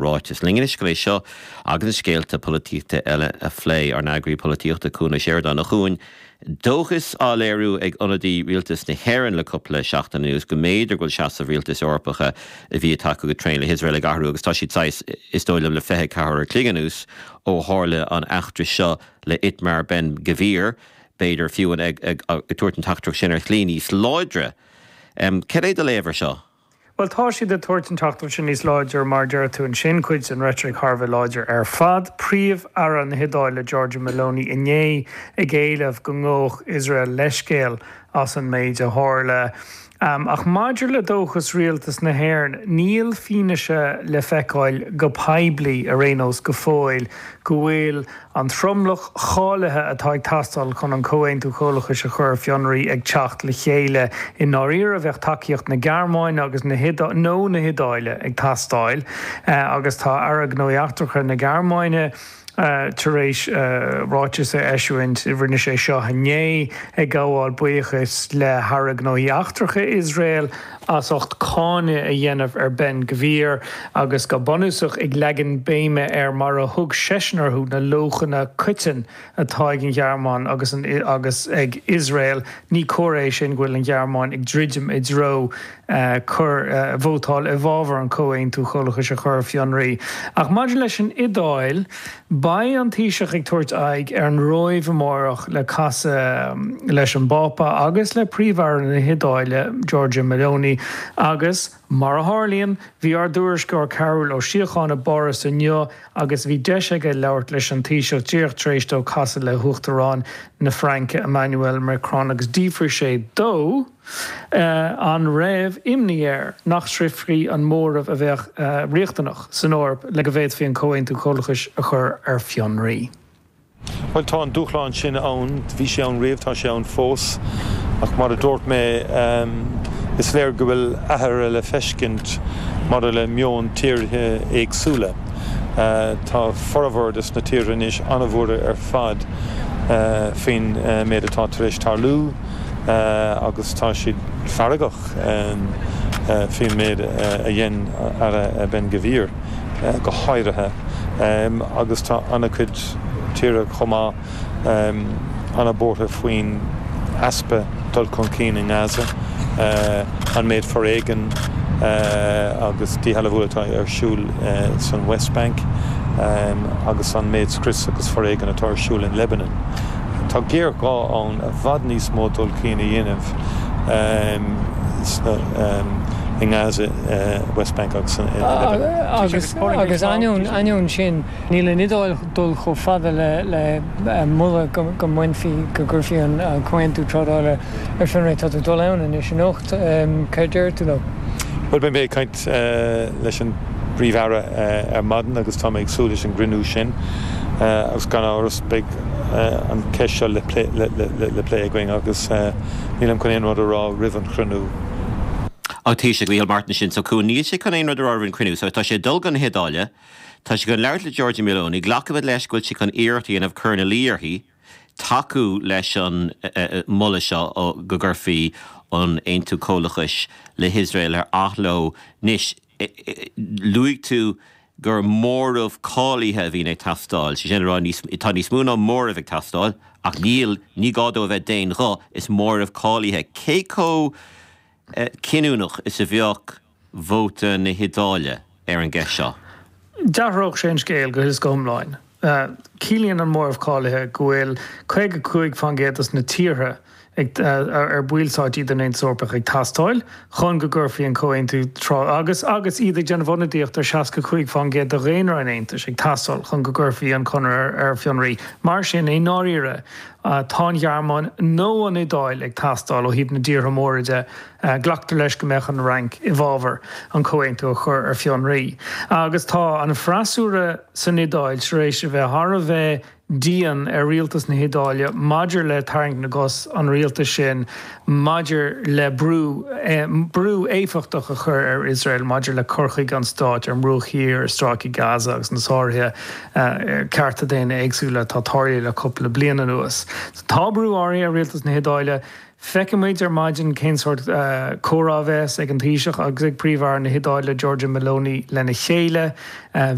Ráiteas linn anois chun é seo agus na scéalta polaitíochta eile a phlé, ár n-eagraí polaitíochta, Cuan Ó Seireadáin. A Chuain, dóchas á léiriú ag ionadaí rialtas na hÉireann le cúpla seachtain anuas go mb'fhéidir go bhfuil seasamh rialtais Eorpacha a bhí ag tacú go tréan le hIosrael ag athrú agus tá siad saghas, is dóigh liom, le 24 uair a chloig anuas ó tharla an eachtra seo le Itamar Ben Gvir, b'fhéidir fiú ag tabhairt an teachtaireacht sin ar shlí níos láidre. Cad é do léamh ar seo? Bhuel, tá siad ag tabhairt an teachtaireacht sin níos láidre, mar a deir tú ansin, cuid den reitric thar a bheith láidir ar fad. Príomh-Aire na hIodáile, Giorgia Meloni, inné ag éileamh go ngabhfadh Iosrael leithscéal as an méid a tharla. Ach maidir le dóchas rialtas na hÉireann, níl fianaise le feiceáil go poiblí ar aon nós go fóill go bhfuil an tromlach cháilithe atá ag teastáil chun an Comhaontú Comhlachais a chur ar fionraí ag teacht le chéile. I ndáiríre, bheadh tacaíocht na Gearmáine agus na nó na hIodáile ag teastáil agus tá Aire Gnóthaí Eachtracha na Gearmáine tar éis ráiteas a eisiúint, rinne sé seo inné, ag gabháil buíochais le hAire Gnóthaí Eachtracha Iosrael as ucht cáineadh a dhéanamh ar Ben Gvir agus go bunúsach ag leagan béime ar, mar a thug seisean orthu, na luachanna coiteann atá ag an Ghearmáin agus agus ag Iosrael. Ní comhartha é sin go bhfuil an Ghearmáin ag druidim i dtreo cur, vótáil i bhfabhar an Comhaontú Comhlachais a chur ar fionraí. Ach maidir leis an Iodáil, Beidh an Taoiseach ag tabhairt aghaidh ar an Róimh amárach le casadh leis an bPápa agus le Príomh-Aire na hIodáile, Giorgia Meloni, agus, mar a tharlaíonn, bhí ár dtuairisceoir Cearbhall Ó Síocháin i bPáras inniu agus bhí deis aige labhairt leis an Taoiseach díreach tar éis dó casadh le hUachtarán na Fraince, Emmanuel Macron, agus d'fhiafraigh sé dó. An raibh imní air nach sroichfí an móramh a bheadh riachtanach san Eoraip le go bhféadfaí an Comhaontú Comhlachais a chur ar fionraí? Bhuel, tá an dúshlán sin ann. Bhí sé ann riamh, tá sé ann fós. Ach mar a dúirt mé, is léir go bhfuil athruithe le feiscint maidir le meon tíortha éagsúla. Tá formhór de na tíortha anois an-bhuartha ar fad faoin méid atá tar éis tarlú. agus tá siad feargach faoin méid a dhein Aire Ben Gvir go háirithe agus tá an-chuid tíortha chomh maith an-bhuartha faoin easpa dul chun cinn i nGaza, an méid foréigin agus díshealbhú atá ar siúl san West Bank agus an méid scrios agus foréigin atá ar siúl in Lebanon. Tá géarghá ann i bhfad níos mó dul cinn a dhéanamh i nGaza, West Bank agus in Lebanon. Agus ainneoin sin, níl an Iodáil ag dul chomh fada le moladh go mbainfí, go gcuirfí an comhaontú trádála ar fionraí. Tá tú ag dul ann anois anocht. Céard déarfaidh tú leo? Bhuel, beidh mé ag caint leis an bPríomh-Aire ar maidin agus tá mé ag súil leis an gcruinniú sin agus gan amhras beidh an cheist seo le plé againn agus nílim chun aon rud a rá roimh an chruinniú. An Taoiseach Micheál Martin sin so Cuan, níl sé chun aon rud a rá roimh an chruinniú so tá sé ag dul go na hIodáile, tá sé chun labhairt le Giorgia Meloni, glacaimid leis go bhfuil sé chun iarracht a dhéanamh cur ina luí uirthi tacú leis an moladh seo go gcuirfí an Aontú Comhlachais le hIosrael ar athló. Anois, luaigh tú gur móramh cáilithe a bhíonn ag teastáil, sé sin le rá, tá níos mó ná móramh ag teastáil, ach níl, ní gá dó a bheith d'aon ghuth, is móramh cáilithe. Cé chomh cinniúnach is a bheadh vóta na hIodáile ar an gceist seo? D'athródh sé an scéal go huile is go hiomlán. Ciallaíonn an móramh cáilithe go bhfuil 55% de na tíortha ar ballstáit iad den Aontas Eorpach ag teastáil chun go gcuirfí an comhaontú agus agus iad ag déanamh ionadaíocht ar 65% de dhaonra an Aontais ag teastáil chun go gcuirfí an conradh ar fionraí. Mar sin, i ndáiríre, tá an Ghearmáin nó an Iodáil ag teastáil ó thaobh na dtíortha móra de. Glactar leis go mbeadh an Fhrainc i bhfabhar an comhaontú a chur ar fionraí. Agus tá an freasúra san Iodáil tar éis a bheith thar a bheith dian ar rialtas na hIodáile maidir le tarraingt na gcos an rialtais sin maidir le brú brú éifeachtach a chur ar Iosrael maidir le cur chuige an stáit ar an mBruach Thiar, ar Stráice Gaza agus na sáruithe cearta daonna éagsúla atá tarlaithe le cúpla bliain anuas. Tá brú áirithe ar rialtas na hIodáile. Feicfidh muid ar maidin cén sórt comhrá a bheas ag an Taoiseach agus ag Príomh-Aire na hIodáile Giorgia Meloni lena chéile.